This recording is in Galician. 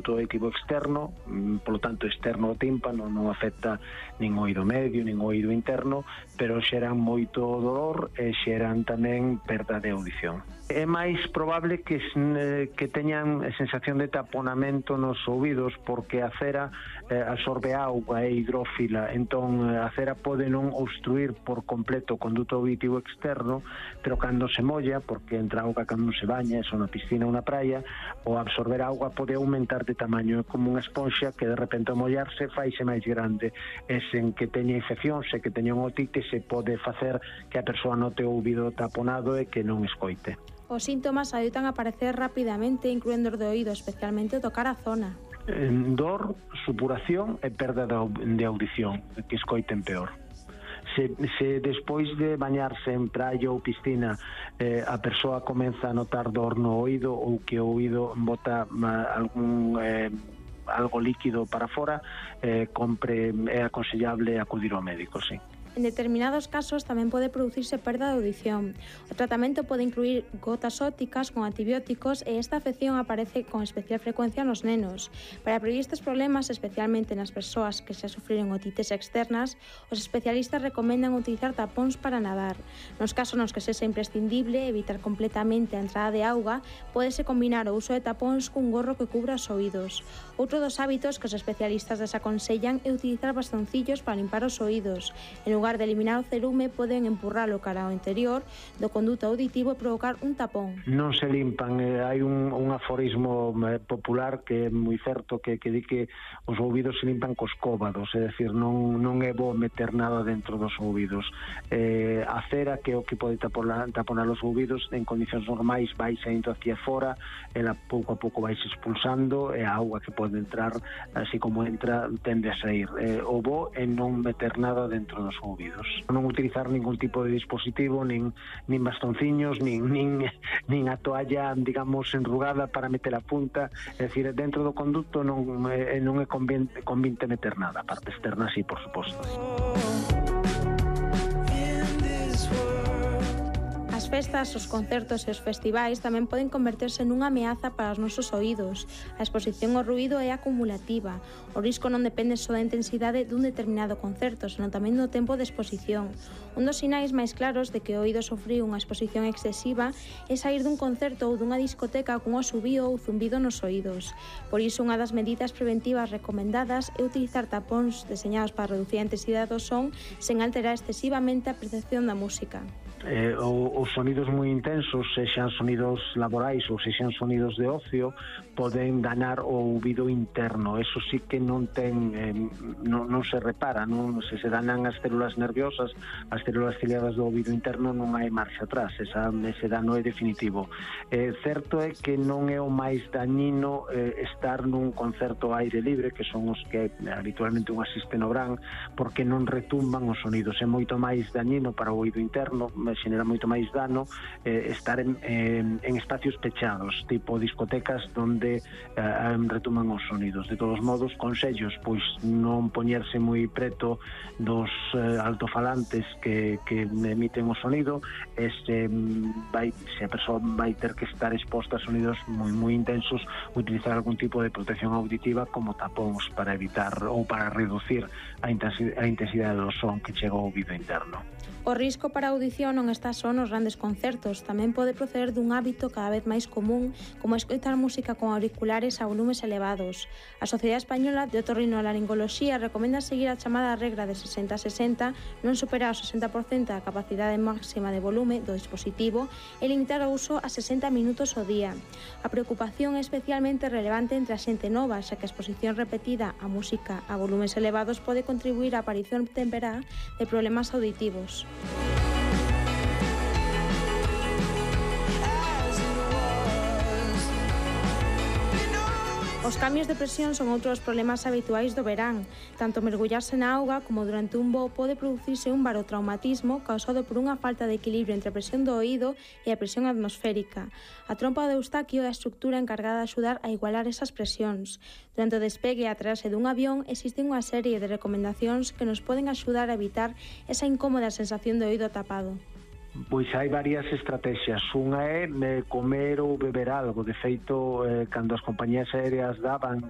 auditivo externo, polo tanto externo ao tímpano, non afecta nin o oído medio, nin o oído interno, pero xeran moito dolor e xeran tamén perda de audición. É máis probable que teñan a sensación de taponamento nos ouvidos, porque a cera absorbe auga, é hidrófila, entón a cera pode non obstruir por completo o conduto auditivo externo, pero cando se molla, porque entra auga cando se baña, eso na piscina ou na praia, o absorber auga pode aumentar de tamaño, é como unha esponxa que de repente ao mollarse faise máis grande, e sen que teña infección, se que teña un otite, se pode facer que a persoa note o ouvido taponado e que non escoite. Os síntomas adoitan a aparecer rapidamente, incluendo os de oído, especialmente ao tocar a zona. Dor, supuración e perda de audición, que escoiten peor. Se despois de bañarse en praia ou piscina a persoa comeza a notar dor no oído, ou que o oído bota algo líquido para fora, é aconsellable acudir ao médico, sí. En determinados casos tamén pode producirse perda de audición. O tratamento pode incluir gotas ópticas con antibióticos e esta afección aparece con especial frecuencia nos nenos. Para prevenir estes problemas, especialmente nas persoas que xa sufriron otites externas, os especialistas recomendan utilizar tapóns para nadar. Nos casos nos que sexa imprescindible evitar completamente a entrada de auga, pódese combinar o uso de tapóns cun gorro que cubra os oídos. Outro dos hábitos que os especialistas desaconsellan é utilizar bastoncillos para limpar os oídos. En lugar de eliminar o cerume, poden empurralo cara ao interior do conduto auditivo e provocar un tapón. Non se limpan, hai un aforismo popular que é moi certo, que di que os ouvidos se limpan cos cóbados, é dicir, non é bo meter nada dentro dos ouvidos. A cera, que é o que pode taponar os ouvidos, en condicións normais vai saindo hacia fora, ela pouco a pouco vai se expulsando, e a auga que pode entrar, así como entra, tende a sair. O bo é non meter nada dentro dos ouvidos. Non utilizar ningún tipo de dispositivo, nin bastonciños, nin a toalla, digamos, enrugada para meter a punta. É dicir, dentro do conducto non é convinte meter nada. A parte externa, sí, por suposto. As festas, os concertos e os festivais tamén poden converterse nunha ameaza para os nosos oídos. A exposición ao ruído é acumulativa. O risco non depende só da intensidade dun determinado concerto, senón tamén do tempo de exposición. Un dos sinais máis claros de que o oído sofriu unha exposición excesiva é sair dun concerto ou dunha discoteca cun asubío ou zumbido nos oídos. Por iso, unha das medidas preventivas recomendadas é utilizar tapóns deseñados para reducir a intensidade do son sen alterar excesivamente a percepción da música. Os sonidos moi intensos, sexan sonidos laborais ou sexan sonidos de ocio, poden danar o ouvido interno. Eso sí que non se repara, non se danan as células nerviosas, as células ciliadas do ouvido interno, non hai marcha atrás, ese dano é definitivo. Certo é que non é o máis dañino estar nun concerto ao aire libre, que son os que habitualmente un asiste no Bran, porque non retumban os sonidos. É moito máis dañino para o ouvido interno, xenera moito máis dano estar en espacios pechados, tipo discotecas onde retuman os sonidos. De todos modos, consellos, pois non poñerse moi preto dos altofalantes que emiten o sonido, se a persoa vai ter que estar exposta a sonidos moi intensos, utilizar algún tipo de protección auditiva como tapóns para evitar ou para reducir a intensidade do son que chega ao ouvido interno. O risco para a audición non está só nos grandes concertos, tamén pode proceder dun hábito cada vez máis común, como escoitar música con auriculares a volumes elevados. A Sociedade Española de Otorrinolaringoloxía recomenda seguir a chamada regra de 60-60, non superar o 60% da capacidade máxima de volume do dispositivo e limitar o uso a 60 minutos ao día. A preocupación é especialmente relevante entre a xente nova, xa que a exposición repetida a música a volumes elevados pode contribuir á aparición temperá de problemas auditivos. Os cambios de presión son outros problemas habituais do verán. Tanto mergullarse na auga como durante un voo pode producirse un barotraumatismo causado por unha falta de equilibrio entre a presión do oído e a presión atmosférica. A trompa de Eustaquio é a estructura encargada de axudar a igualar esas presións. Durante o despegue e a aterraxe dun avión existe unha serie de recomendacións que nos poden axudar a evitar esa incómoda sensación de oído tapado. Pois hai varias estrategias. Unha é comer ou beber algo. De feito, cando as compañías aéreas daban